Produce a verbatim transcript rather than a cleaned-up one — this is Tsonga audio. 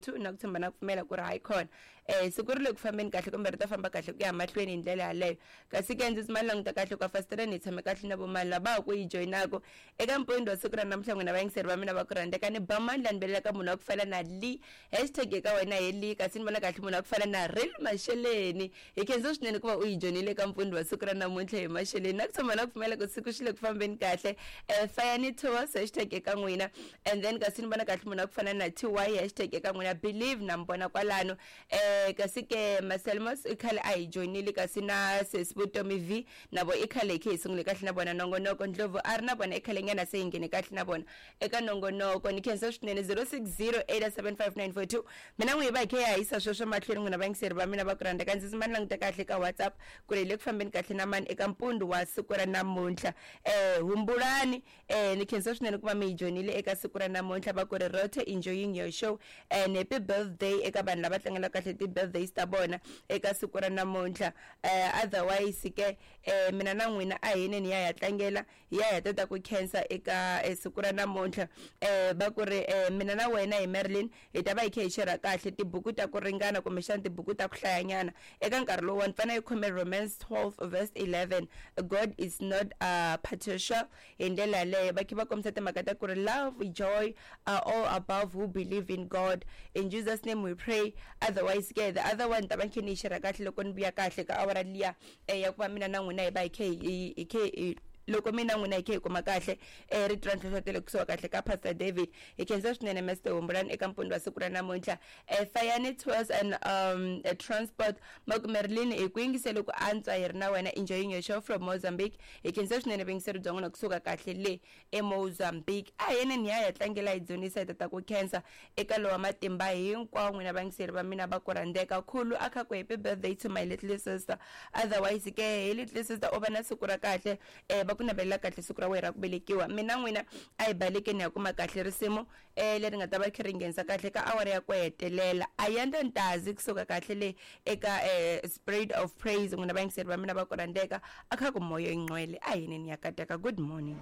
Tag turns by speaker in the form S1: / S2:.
S1: two na ku tshemba na ku pfumela ku ri hayi khona um siku ri le ku fambeni kahle kumbe ri ta famba kahle ku ya mahlweni hi ndlela yaleyo. Kasi ke ndzi tshama ni languta kahle kwa fasitereni hi tshame kahle na vomali lava ha ku yi joyinaka eka mpfundo wa siku ra namuntlha. N'wina vayingiseri va mina va ku rhandzeka, ni ba mandla ni belela ka munhu wa ku fana na Lee, hashtag eka wena hi Lee. Kasi ni vona kahle munhu wa ku fana na Real Masheleni, hi khensa swinene ku va u yi joyinile eka mpfundo wa siku ra namuntlha hi Masheleni. Na ku tshama na ku pfumela ku siku xi le ku fambeni kahle. um Fayani Tours, hashtag eka n'wina. And then kasi ni vona kahle munhu wa ku fana na T Y, hashtag eka n'wina. Believe na mi vona kwalano. um kasi ke Maselmos i khale a hi joyinile, kasi na Sesi Vutomi V na vo i khale hi khe hi sungule kahle na vona nongonoko. Ndlovu a ri na vona i khale nyana se hi nghene kahle na vona eka nongonoko. Ni khensa swinene. Zero six zero eight seven five nine four two, mina n'wi hi va hi khe hi hahisa sweswo mahlweni. N'wina vayingiseri va mina va ku rhandza ka, ndzi tshama ni languta kahle ka WhatsApp ku ri hi le ku fambeni kahle na mani eka mpundu wa siku ra namuntlha. um Humbulani, um ni khensa swinene ku va mi hi joyinile eka siku ra namuntlha. Va ku ri Rote, enjoying your show and happy birthday eka vanhu lava tlangelaka kahle ti-birthdays ta vona eka siku ra namuntlha. um Otherwise ke um mina na n'wina a hi neni ya ya tlangela hi ya hi ta ta ku khensa eka siku ra namuntlha. um Va ku ri um mina na wena hi Marilyn hi ta va hi khe hi share kahle tibuku ta ku ringana kumbexana tibuku ta ku hlayanyana eka nkarhi lowuwani. Fana yi khome Romans twelve verse eleven, God is not uh, partial. Hi ndlela yaleyo va khe va kombisa timhaka ta ku ri love, joy are all above who believe in God. In Jesus name we pray. Otherwise ke the other one ta va khe ni yi share kahle loko ni vuya kahle ka awara liya eh, ya ku va mina na n'wina hi va hi khe hi hi khe hi loko mina n'wina hi khe hi kuma kahle um rito ra nhlohlotelo kusuka kahle ka Pastor David. Hi khensa swinene Master Humbulani eka mpfundo wa siku ra namuntlha. um Fayani Tours and um Transport Makumerilini, hi ku yingisele ku antswa hi ri na wena, enjoying your show from Mozambique. Hi khensa swinene vuyingiseri bya n'wina kusuka kahle le eMozambique. A hi yeneni hi ya hi ya tlangela hi dzunisa hi tata ku khensa eka lowa matimba hinkwawo. N'wina vayingiseri va mina va ku rhandzeka, khulu a kha ku happy birthday to my little sister. Otherwise ke hi little sister u va na siku ra kahle, um va ku navelela kahle siku ra wena ra ku velekiwa. Mina n'wina a hi balekeni ya kuma kahle risimu um leri nga ta va khe ri nghenisa kahle ka awara ya ku hetelela. Ayanda Ntazi kusuka kahle le eka um Spirit of Praise. N'wina vayingiseri va mina va ku rhandzeka, a kha ku moya yinqwele a hi neni ya kateka. Good morning.